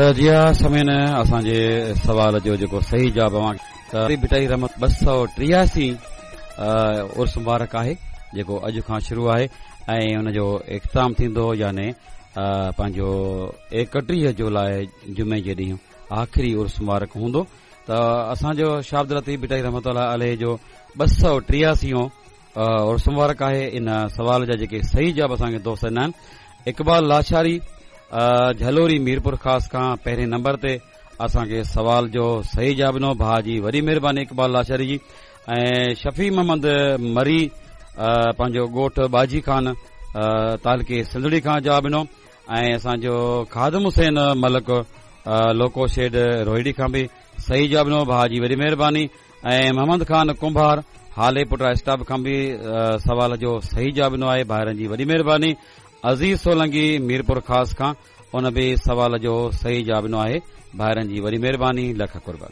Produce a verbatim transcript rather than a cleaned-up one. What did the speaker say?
جي ها سامعين، اسان جي سوال جو جيڪو صحيح جواب اوهان ته ڀٽائي رحمت ٻه سؤ ٽياسي عرس مبارڪ آهي، جيڪو اڄ کان شروع آهي ۽ ان جو اختتام ٿيندو يعني پنهنجو ايڪٽيهه جولاء جمعي جي ڏينهن آخري عرس مبارڪ هوندو. ته اسان جو شاهه عبداللطيف ڀٽائي رحمت الله عليه جو ٻه سؤ ٽياسيون عرس مبارڪ آهي. ان سوال جا جيڪي صحيح جواب اسان کي دوست ڏنا آهن، اقبال لاشاري جهلوري ميرپور خاص کان پهرين نمبر تي اسان کي سوال جو صحيح جواب ڏنو، ڀاء جي وڏي مهرباني اقبال لاشاري جي. ۽ شفيع محمد مري پنهنجو ڳوٺ باجي خان تعلقي سنڌڙي کان جواب ڏنو. ۽ اسان جو خادم حسين ملڪ لوڪو شيڊ روهڙي کان به صحيح جواب ڏنو، ڀاء جي وڏي مهرباني. ۽ محمد خان ڪنڀار هالي پٽ اسٽاپ کان به سوال جو صحيح جواب ڏنو آهي، ڀائرن جي وڏي مهرباني. عزيز سولنگي ميرپور خاص کان ان به سوال جو صحيح جواب ڏنو آهي، ڀائرن جي وڏي مهرباني، لک قرب.